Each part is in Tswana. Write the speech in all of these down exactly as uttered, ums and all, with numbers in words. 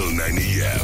till nine a.m.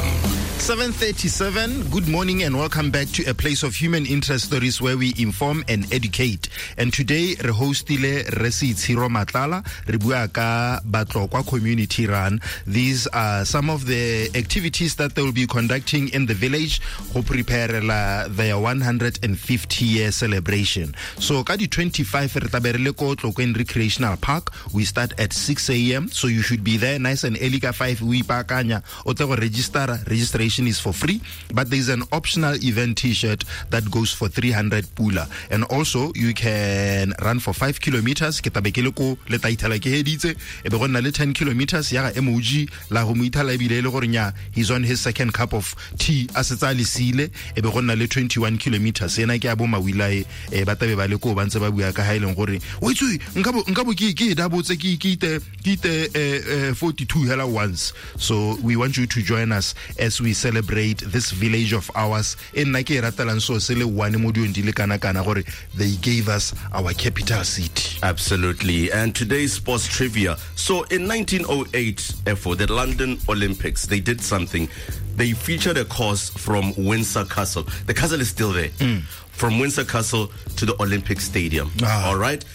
seven thirty-seven, good morning and welcome back to a place of human interest stories where we inform and educate. And today, re hostile Rre Seitshiro Matlala, re bua ka Batlokwa Community Run. These are some of the activities that they will be conducting in the village go prepare their one hundred fifty year celebration. So, ka di twenty-five re tla be re le ko Tlokweng Recreational Park. We start at six a.m. so you should be there nice and early ka five o ipaakanya o tle go register. Registration is for free, but there's an optional event t-shirt that goes for three hundred pula. And also you can run for five kilometers. Ke tabe ke le ko le taithala ke heditse e be go nna le ten kilometers ya ga M O G la go mo ithala ebile e le gore nya he's on his second cup of tea a setsa le sile e be go nna le twenty-one kilometers ena ke a bo mawilae e ba tabe ba le ko ba ntse ba bua ka ha ileng gore o itse nka bo nka bo ke ke da botse ke ke ite ke ite forty-two hela once. So we want you to join us as we celebrate this village of ours. E nna ke e ratelang so se le one mo diong di le kana kana gore they gave us our capital city. Absolutely. And today's sports trivia. So in nineteen oh eight, for the London Olympics, they did something. They featured a course from Windsor Castle. The castle is still there. Mm. From Windsor Castle to the Olympic Stadium. Ah. All right?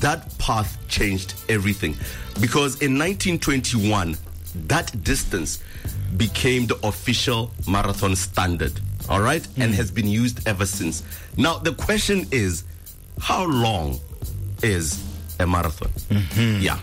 That path changed everything. Because in nineteen twenty-one, that distance became the official marathon standard, all right, mm. and has been used ever since. Now, the question is, how long is a marathon? Mm-hmm. Yeah.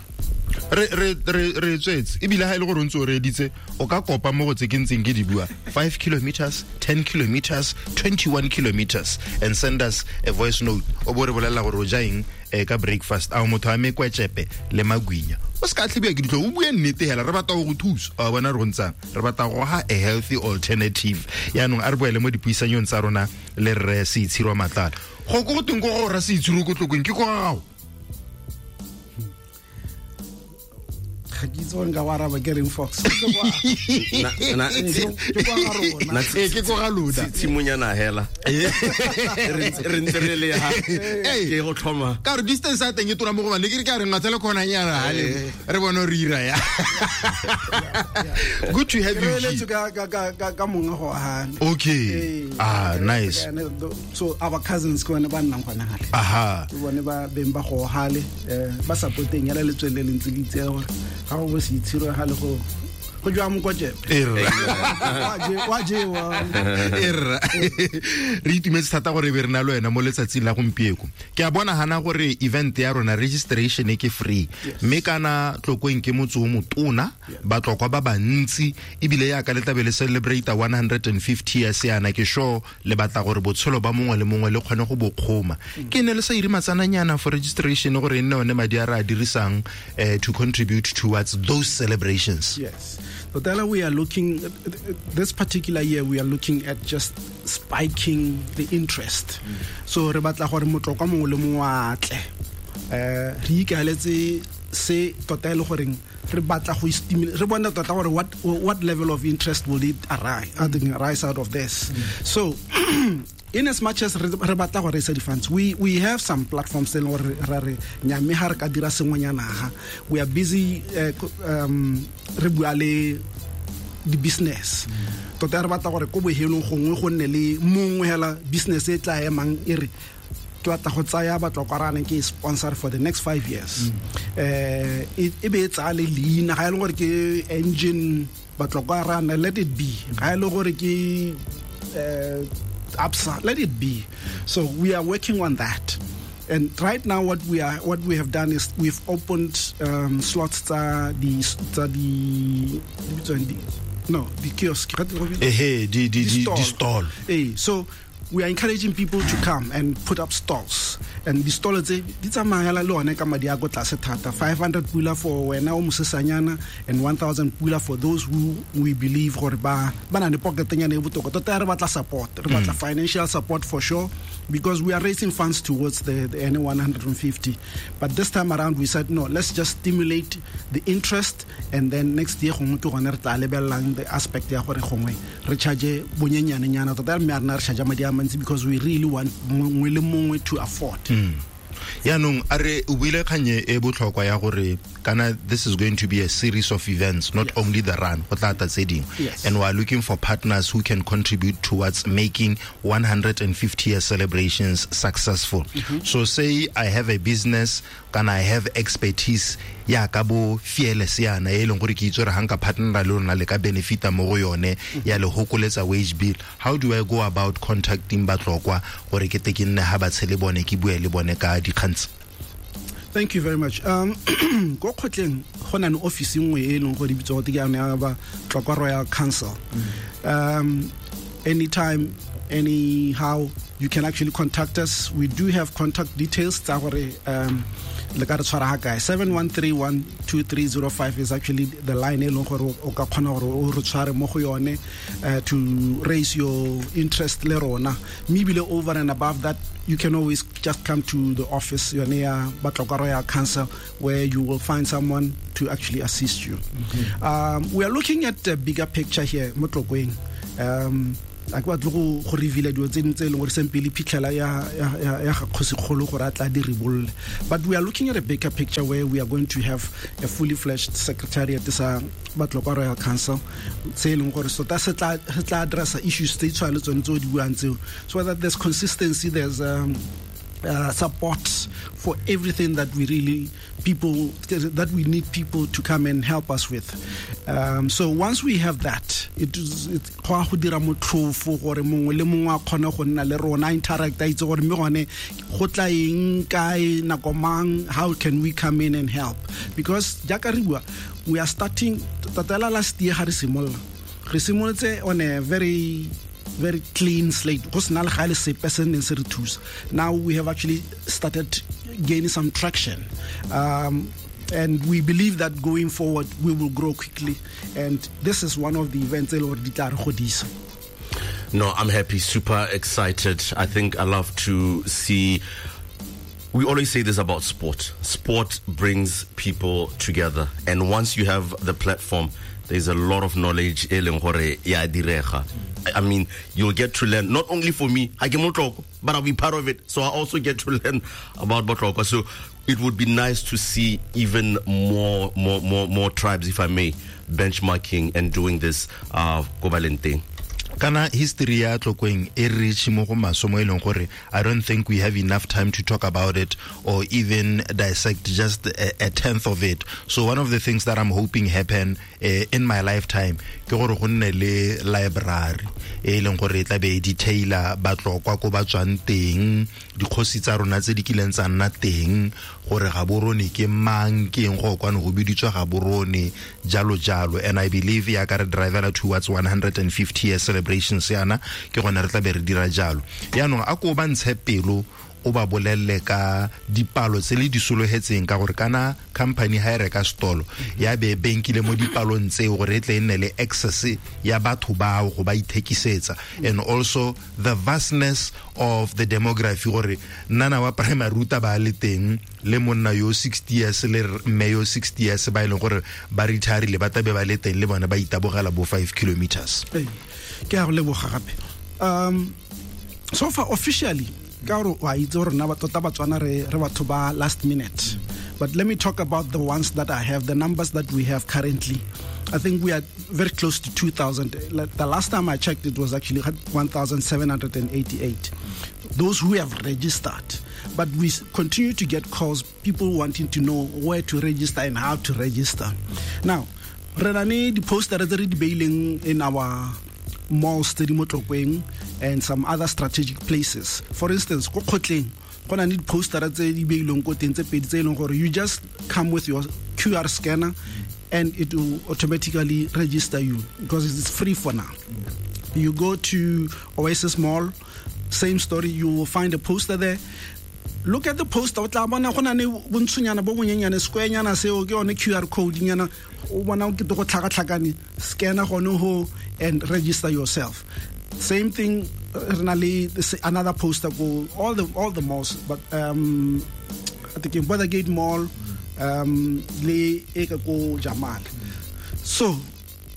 Re re re re tswetse ebile ha ile gore o ntse o reditse o ka kopa mo go tse ke ntseng ke di bua five kilometers, ten kilometers, twenty-one kilometers and send us a voice note o bo re bolela gore o ja eng ka breakfast a motho a me kwetsepe le magwinya o ska tlhibiwa ke ditlo o bue nnete hela re batla go thusa a bona re go ntsang re batla go ha a healthy alternative yaanong a re boele mo dipuisanyong tsa rona le Rre Seitshiro Matlala go go teng go go ra Seitshiro ko Tlokweng ke go gago ga ke itse gore nka go araba ke reng Fox ke ko ga lona tshimonyana hela re ntse re le ha ke go tlhoma ka re distance a teng e tona mo go bane ke re ke a re ngatsele khona nyana hale re bone re ira ya. Good to have you here ka ka ka ka monga go hana. Okay, ah nice. So our cousins ke bone ba nnang gona hale aha ke bone ba beng ba go hale ba supporteng ya le letswele le ntse le itse gore ga go bo Seitshiro ga le go go jwa mokotjepe wa jewa erra re itumetse thata gore be re na le wena mo letsatsing la gompieko ke a bona hana gore event ya rona registration ke free mme kana Tlokweng ke motse o motona Batlokwa ba bantsi ebile ya ka le tlabe le celebrate one hundred fifty years yana ke sure le batla gore botshelo ba mongwe le mongwe le kgone go bokgoma ke ne le sa ire matsananyana for registration gore e nne one madi a re a dirisang to contribute towards those celebrations. Yes. Totala, we are looking, this particular year, we are looking at just spiking the interest. Mm. So, re batla gore Motlokwa mongwe le mongwe a tle. Eh, re ikaeletse se tota e le goreng re batla go stimulate, re bona tota gore what, what level of interest will it arise, arise out of this. Mm. So, in as much as re batla go raise the funds, we we have some platforms tse gore ra re nyame ha re ka dira sengwenyana ha we are busy uh, um re bua le di business tota re batla gore ko bohelong gongwe go nne le mongwe hela business e tla emang e re ke batla go tsaya Batlokwa rana ke sponsor for the next five years eh e be tsa le leina ga e le gore ke engine Batlokwa rana, let it be ga e le gore ke eh Absa, let it be. So we are working on that. And right now what we are what we have done is we've opened um, slots tsa di tsa di no the kiosk eh di di di stall. Eh so we are encouraging people to come and put up stalls. And the stalls tse di tsamaya le one ka madi a go tlase thata five hundred pula for wena o mosesanyana and one thousand pula for those who we believe gore ba ba na le pocket nyana e botoka tota re batla support re batla financial support for sure because we are raising funds towards the, the N one hundred fifty. But this time around we said no, let's just stimulate the interest and then next year gongwe ke gone re tla lebellang the aspect ya gore gongwe re charge bonyenyane nyana tota mme a rena re charge madi a mantsi because we really want mongwe le mongwe to afford. Mm. Yaanong a re o buile kganye e botlhokwa ya gore kana this is going to be a series of events, not Yes. only the run, go tla tla tse dingwe. Yes. And we are looking for partners who can contribute towards making one hundred fifty year celebrations successful. Mm-hmm. So say I have a business, can I have expertise ya ka bo fearless yana e leng gore ke itse gore ga nka partnera le lona le ka benefita mo go yone ya le hokoletsa wage bill. How do I go about contacting Batlokwa gore ke te ke nne ha ba tshele bone, ke bue le bone ka dikgang? Thank you very much. um ko kgotleng go na le office nngwe e leng gore e bitswa gote ke yone ya ba Tlokwa Royal Council. um anytime anyhow, you can actually contact us. We do have contact details tsa gore um le ka re tshwara ga kae. seven one three one two three zero five is actually the line e leng gore o ka kgona gore o re tshware mo go yone uh, to raise your interest le rona. Mme ebile over and above that, you can always just come to the office yone ya Batlokwa Royal Council, where you will find someone to actually assist you. mm -hmm. um, we are looking at a bigger picture here mo Tlokweng. um a ke batle go go reveal dilo tse dingwe tse e leng gore sempele phitlhela ya ya ya ya ga kgosikgolo gore a tla di ribolle, but we are looking at a bigger picture where we are going to have a fully fledged secretariat sa Batlokwa Royal Council se e leng gore tota se tla se tla addressa issues tse di tshwana le tsone tse o di buang tseo, so that there's consistency, there's um, uh, support for everything that we really people that we need people to come and help us with. Um, so once we have that, it is it go a go dira motlhofo gore mongwe le mongwe a kgone go nna le rona, interact, a itse gore mme gone go tla eng kae, nako mang, how can we come in and help, because jaaka re bua, we are starting tatela. Last year ga re simolola, re simolotse on a very very clean slate, go sena le ga le sepe se neng se re thusa. Now we have actually started gaining some traction, um, and we believe that going forward we will grow quickly, and this is one of the events e le gore di tla re godisa. No, I'm happy, super excited. I think I love to see. We always say this about sport. Sport brings people together. And once you have the platform, there's a lot of knowledge e leng gore ya direga. I mean, you'll get to learn, not only for me, I ke Motlokwa, but I'll be part of it. So I also get to learn about Batlokwa. So it would be nice to see even more, more, more, more tribes, if I may, benchmarking and doing this uh, ko ba leng teng. Kana history ya Tlokweng e rich mo go maswe mo e leng gore I don't think we have enough time to talk about it or even dissect just a, a tenth of it. So one of the things that I'm hoping happen uh, in my lifetime ke gore go nne le library e leng gore e tla be e detaila Batlokwa ko ba tswang teng, dikgosi tsa rona tse di kileng tsa nna teng, gore Gaborone ke mang, ke eng go kwane go biditswa Gaborone, jalo jalo. And I believe ya ka re drivela towards one hundred fifty year celebrations yana, ke gone re tla be re dira jalo. Yaanong a ko ba ntshe pelo, o ba bolelle ka dipalo tse le di sologetseng, ka gore kana company ha e reka stolo ya be benkile mo dipalong tseo gore e tle e nne le access ya batho bao go ba ithekisetsa, and also the vastness of the demography, gore nnana wa primary ruta ba le teng le monna yo sixty years le mme yo sixty years ba e leng gore ba retirile ba tabe ba le teng le bone ba itabogela bo five kilometers. Ee, ke a go leboga gape. um so far officially, ka gore wa itse gore rona tota Batswana re re batho ba last minute, but let me talk about the ones that I have, the numbers that we have currently. I think we are very close to two thousand. Like, the last time I checked, it was actually one thousand seven hundred eighty-eight, those who have registered. But we continue to get calls, people wanting to know where to register and how to register. Now re na le di-poster tse re di beileng in our malls tse di mo Tlokweng and some other strategic places. For instance, ko kgotleng go na le di-poster tse di beilweng ko teng tse pedi tse e leng gore you just come with your Q R scanner and it will automatically register you, because it's free for now. You go to Oasis Mall, same story, you will find a poster there. Look at the poster, o tla bona go na le bontshonyana bo bonyenyane, square-nyana seo ke yone Q R code nyana o bona o kete go tlhakatlhakane, scanner gone ho and register yourself. Same thing, re na le another poster go all the all the malls, but um I think in Gate Mall um le e ka ko Jamal. So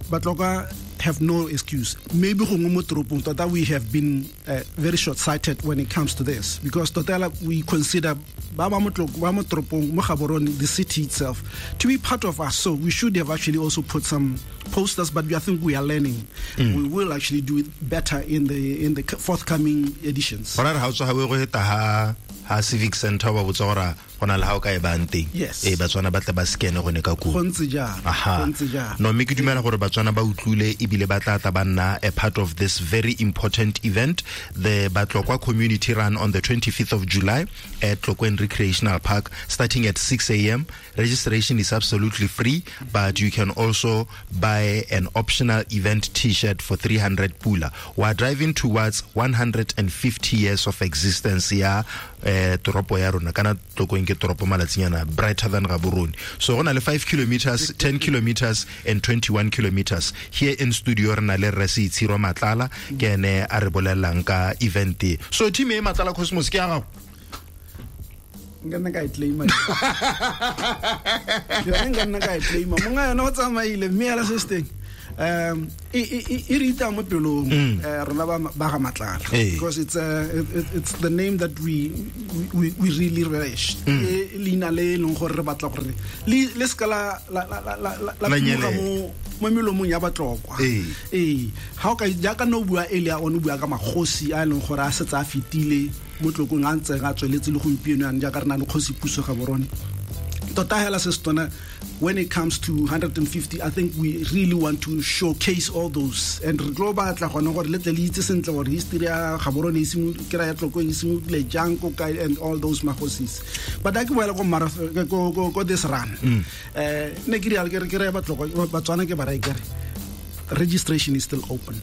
Batlokwa have no excuse. Maybe gongwe mo toropong tota we have been uh, very short-sighted when it comes to this, because tota we consider ba ba mo toropong mo Gaborone, the city itself, to be part of us. So we should have actually also put some posters, but I think we are learning. Mm. We will actually do it better in the in the forthcoming editions. Ha civic center ba botsa gore gona le ha o ka e bang teng. E Batswana ba tle ba scan gone ka koo. Go ntse jalo. Go ntse jalo. No, mme ke dumela gore Batswana ba utlwile ebile ba tla tla ba nna a part of this very important event, the Batlokwa Community Run on the twenty-fifth of July at Tlokweng Recreational Park, starting at six a.m. Registration is absolutely free, but you can also buy an optional event t-shirt for three hundred pula. We are driving towards one hundred fifty years of existence ya eh toropo ya rona kana Tlokweng ke toropo malatsinyana brighter than Gaborone. So go na le five kilometers, ten kilometers and twenty-one kilometers. Here in studio re na le Rre Seitshiro Matlala ke ene a re bolellang ka event e. So team e Matlala Cosmos ke ya gago. Nka nna ka e claima. Yone nka nna ka e claima. Monga yona o tsamaile mme ya se se teng. Um e e rita mo pelong rona ba ba ga Matlala, because it's uh, it, it's the name that we we we really relish. E leina le leng gore re batla gore le le ska la la la la la mo mo melomong ya Batlokwa. Eh ha o ka jaaka no bua earlier on, o bua ka magosi a leng gore a setse a fetile mo Tlokweng a ntse a tsweletse le gompieno yang jaaka re na le kgosi Puso Gaborone. Tota hela se setona, when it comes to one hundred fifty, I think we really want to showcase all those. And re tlo batla gone gore le tle le itse sentle gore history ya Gaborone e simolotse ke ra ya Tlokweng e simolotse jang ko kae and all those magosis. But a ke boela ko marathon ko ko ko this run. Eh ne ke re ke re ke re Batlokwa Batswana ke ba ra ke re registration is still open.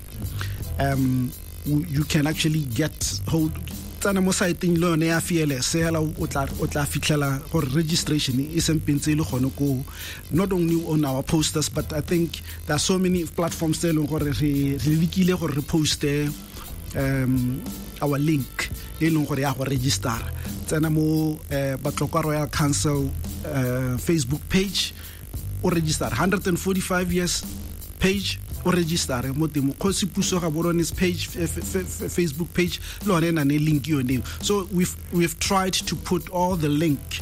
Um you can actually get hold tsana mo siteng le yone ya Fearless hela o tla o tla fitlhela gore registration e sempentse le gone ko, not only on our posters, but I think there are so many platforms tse leng gore re re lekile gore re poste um our link e leng gore ya go register. Tsena mo Batlokwa Royal Council uh, Facebook page o register, one hundred forty-five years page o register mo teng, Kgosi Puso Gaborone's page, f- f- f- Facebook page le yone e na le link yone. So we've we've tried to put all the link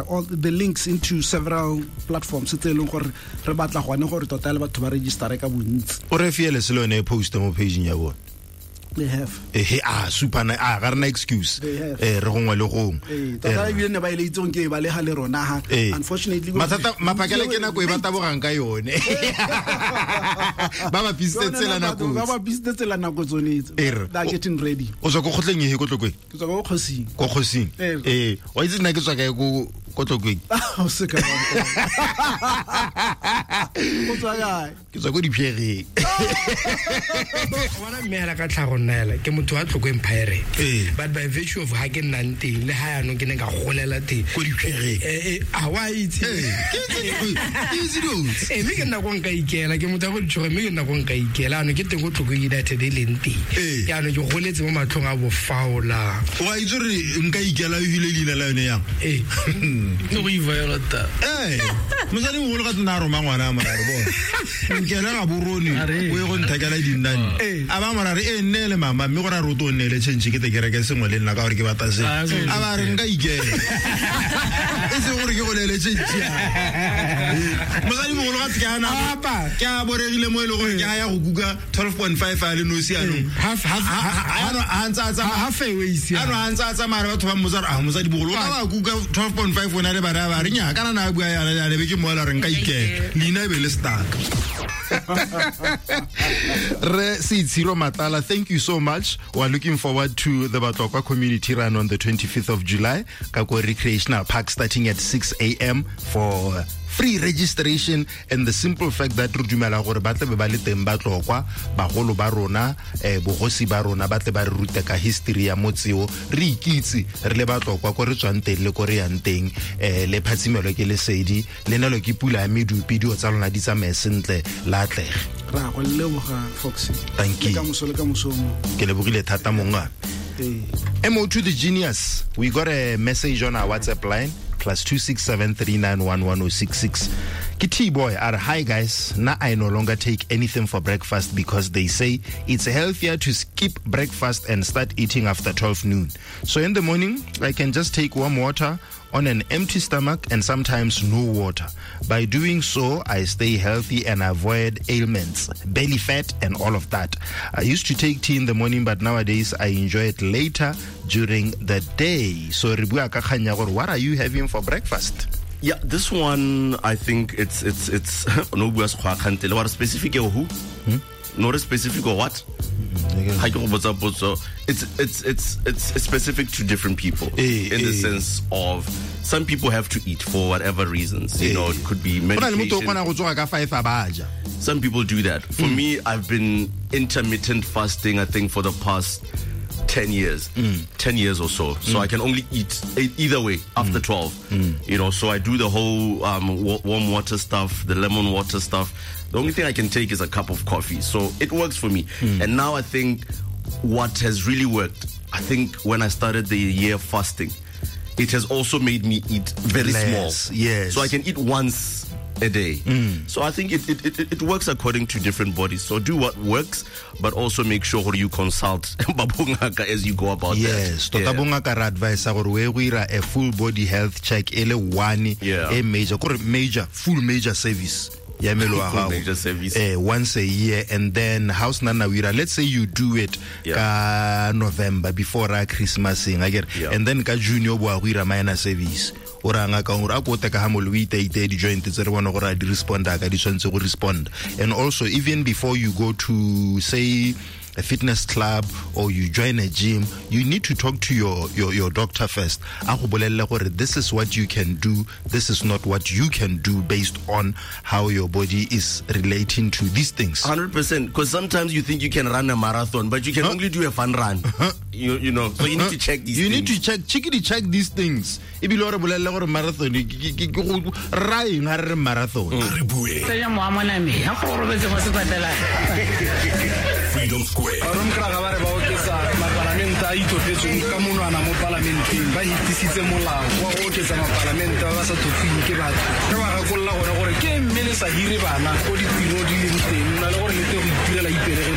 all the links into several platforms tse leng gore re batla gone gore tota le batho ba register ka bontsi. O re Fearless le yone e post mo page ya bone. They have. Eh ah super na ah ga rena excuse. Eh re gongwe le gongwe. Eh tota ebile ne ba ile itsong ke ba le ga le rona ha. Unfortunately mathata maphakela ke nako e ba tabogang ka yone. Ba ba pisitse tsela nako. Ba ba pisitse tsela nako tsone tse. They are getting ready. O tswa ko kgotleng e ko Tlokweng? Ke tswa ko kgosing. Ko kgosing. Eh wa itse nna ke tswa kae ko ko Tlokweng? O se ka ba. O tswa kae? Ke tswa ko Diphereng. Wa na mme ka tlhago nna ke motho wa Tlokweng Pirate, but by virtue of ha ke nnang teng le ha yanong ke ne ka golela teng ko Diphereng. Eh a wa itse ke itse dilo eh mme ke nna go nka ikela ke motho wa go ditšhoge mme ke nna go nka ikela ano ke teng go Tlokweng United e leng teng yaanong ke goletse mo matlhong a bofaola. Wa itse re nka ikela o hile leina la yone yang eh ke go iviolata eh mosadi mogolo ka tsena a roma ngwana a morare bona nkela Gaborone o ye go nthekela dinnane a ba morare e nne le mama mme gore a roto o nne le change ke te kereke sengwe le nna ka gore ke batla se a ba re nka ikela e se gore ke go lele change mosadi mogolo ga ke ana ke a boregile mo e le gore ke a ya go kuka twelve point five a le nosi anong half half a ntse a tsamaya half away isi a ntse a tsamaya batho ba mmotsa a mosadi bogolo o ka ba kuka twelve point five ona le bana ba re nya kana na bua yana ya be ke moela re nka ikela leina e be le stuck. Re Seitshiro Matlala, thank you so much. We are looking forward to the Batlokwa Community Run on the twenty-fifth of July, Kako Recreational Park, starting at six a.m. for free registration, and the simple fact that re dumela gore ba tle be ba le teng Batlokwa, bagolo ba rona, eh bogosi ba rona ba tle ba re rute ka history ya motseo, re ikitse re le Batlokwa ko re tswang teng le ko re yang teng, eh le phatsimelo ke lesedi le nelo ke pula ya medupi dio tsa lona di tsamaye sentle la atlege. Ra go leboga Foxy. Thank you. Le ka moso le ka moso mo. Ke lebogile thata monga. M O to the genius. We got a message on our WhatsApp line plus two six seven three nine one one oh six six. Ke T-boy a re hi guys na I no longer take anything for breakfast because they say it's healthier to skip breakfast and start eating after twelve noon. So in the morning I can just take warm water on an empty stomach and sometimes no water. By doing so, I stay healthy and avoid ailments, belly fat and all of that. I used to take tea in the morning, but nowadays I enjoy it later during the day. So re bua ka kgang ya gore, what are you having for breakfast? Yeah, this one I think it's it's it's no bua sekgwa kgantele wa re specific e who? No re specific or what? Ha ke go botsa potso. It's it's it's it's specific to different people Eh, in the eh. sense of some people have to eat for whatever reasons. You Eh. know, it could be Go na le motho o medication. kgona go tsoga ka five a ba ja. Some people do that. For Mm. me, I've been intermittent fasting, I think, for the past ten years, Mm. ten years or so. So I can only eat e-, either way after Mm. twelve. You know, so I do the whole um, wa- warm water stuff, the lemon water stuff. The only thing I can take is a cup of coffee. So it works for me. Mm. And now I think what has really worked, I think when I started the year fasting, it has also made me eat very Less, small. yes. So I can eat once a day. Mm. So I think it, it, it, it works according to different bodies. So do what works, but also make sure you consult ba bongaka as you go about Yes, that. tota bongaka re advise gore o ye go ira a full body health check e le one Yeah. e major, kore major, full major service ya mmele wa Full gago. major service. Eh, once a year, and then ha o sena na o ira, let's say you do it Yeah. ka November before ra Christmas eng, akere? Yeah. And then ka June o boa go ira minor service. O ra ngaka gore a ko te ka ha mole o iteiteye di-joint tse re bone gore a di responda ka di tshwanetse go respond. And also even before you go to say a fitness club or you join a gym, you need to talk to your, your, your doctor first. A go bolelle gore this is what you can do, this is not what you can do based on how your body is relating to these things. hundred percent, because sometimes you think you can run a marathon, but you can only do a fun run. You, you know, so you need to check these You things. need to check, chickity check these things. Ebile o re bolelle gore marathon ke- ke- ke- ke go ra eng ha re re marathon. Re bue. Tsenya mowa mo nameng, ha go robetse mo sepatela. Freedom Square. Baromkraga ba re ba oketsa mapalamente a itlhophetsweng ka monwana mo palamenteng, ba hetisitse molao wa go oketsa mapalamente ba ba sa tlhophiweng ke batho. Re ba gakolola gone gore ke mme le sa hire bana ko ditiro di leng teng, na le gore le tle go itirela ipelegeng.